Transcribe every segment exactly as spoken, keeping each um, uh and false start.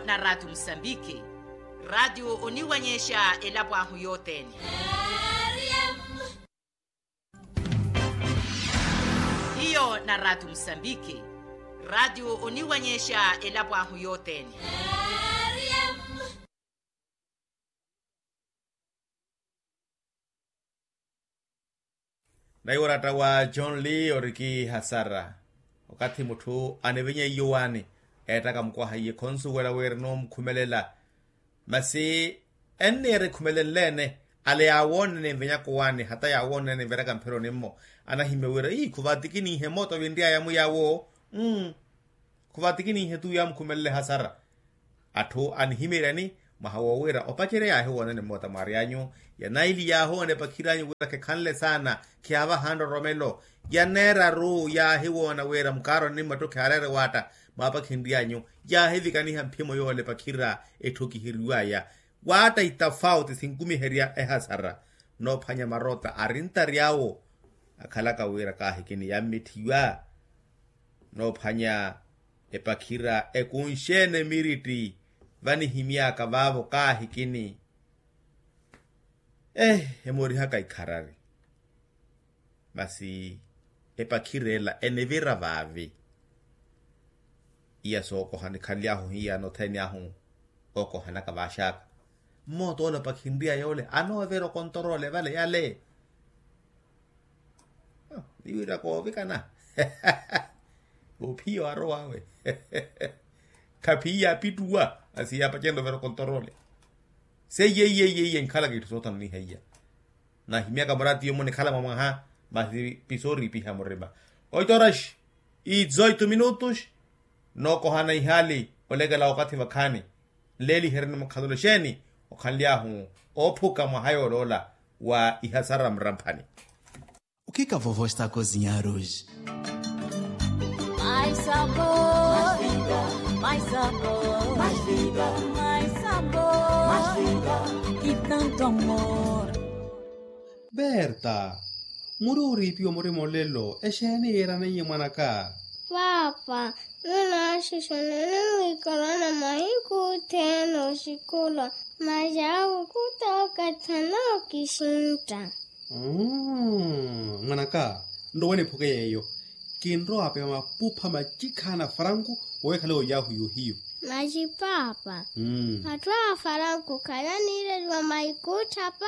Na ratio musambiki. Ratio oniwanyexa elapo ahu yothene. Hiyo na ratio musambiki. Ratio oniwanyexa elapo ahu yothene. Naiwo oratta wa john lee oriki hasara. Okathi mutthu anivinya iyo waani, eettaka mukwaha iye khonsuwela wira enoomukhumelela. Masi enniira ekhumelenle-ene, ale yaawoonene nvinyaka owaani hata yaawoonene nviraka mphironi-mmo, anahimya wira ii khuvatikiniihe mooto vinry'aya muyaawo. Khuvatikiniihe tu yaamukhumelele hasara. Atthu anihimeeryani mwaha woowira opacerya yaahiwoonene mmoota mwaaryanyu, ya naili yaahoona epakhiryanyu wira khekhanle saana, khiyaavaha nroromelo. Ya neeraru yaahiwoona wira mukaaroni mmattu khiyaareere waatta, mwaapakhinry'anyu yaahivikaniha mphimo yoola epakhira etthokiheriw'aya. Waatta itafauti sinkumiherya ehasara. Noophwanya marotta arintary'awo akhalaka wira kaahikini yammitthiwa. Noophwanya epakhira ekunxene miritti vanihimy'aka vaavo kaahikini. Eeh emoorihaka ikharari. Masi epakhira ela enivira vaavi. Iya sookoha nikhanly'ahu hiya nothene ahu. Okohanaka vaaxaka. Mmoota ole opakhinry'aya ole anoovira okontoroole vale yale. Niwira koovikana. Ophiya owarowawe. Khaphiya apittuwa. Masi yaapacerya ovira okontoroole. Seiye iye iye iye nkhalaka itthu soothana onihaiya. Nahimyaka muraatiyo-mo nikhala mwa mwaha. Masi pisooriipiha murima. Oito horas e dezoito minutos. Nookohana ihaali olekela wakathi vakhaani. Nleeliheryeni mukhalolo exeeni okhanly'ahu oophuka mwaha yooloola wa ihasara mramphani. O que que a vovó está a cozinhar hoje? Mais sabor, mais vida, mais sabor, mais vida, mais sabor, mais vida, e tanto amor. Berta, muri ooriipiwa murima olelo exeeni yiiraneiye mwanaka? Paapa, nunaaxixanani mwiikalana mahiku othene oxikula. Masi awo khuta okathana okixintta. Mwanaka, nrowe niphuke yeeyo. Kinrowa apewa mapupha macikhaana a faranku. Wowe khale oyahu yohiyo. Masi paapa, atthu a faranku khale aniireliwa maikutthapa?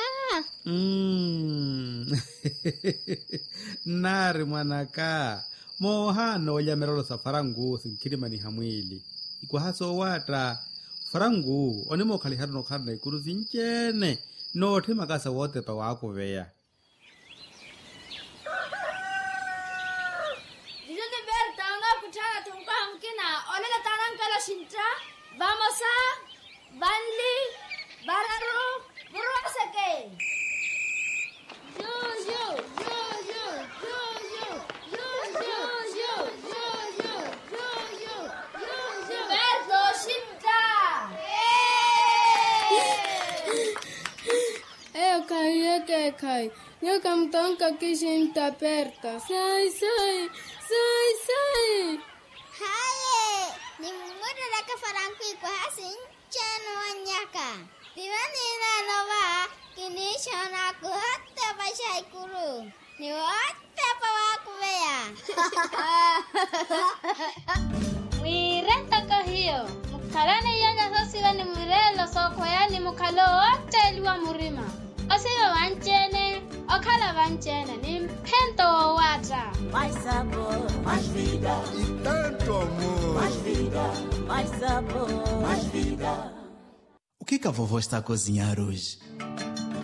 Nnaari mwanaka, moohaana olya mirelo sa faranku sinkhirimaniha mwiili. Ikwaha soowaatta. Faranku onimookhalihana onokhalana ikuru sinci-ene. Nootthi makasa wootepa waakuveya. Juju ni berta onookutthaana-tho mukwaha mukina. Onene taanankela oxintta. Vamosa, vanli, vararu, vurwaseke. Juju, juju, juju. Berta oxintta. Eyo khahiye ekeekhayi. Nyuwo khamutonka oxintta berta. Sai sai, sai sai. Haye, nimumutteleke faranku ikwaha sinci-ene owannyaka. Tivani naano va, kiniixoona khuhotepa xaikuru. Ni wootepa waakuveya. Mwiire ntoko hiyo, mukhalane iyanya soosiva ni mwireelo sookhweyani mukhale owootteeliwa murima. Osiva vanci-ene, okhala vanci-ene ni mphento woowaatta. Mais sabor, mais vida. E tanto amor. Mais vida, mais sabor, mais vida. O que que a vovó está a cozinhar hoje?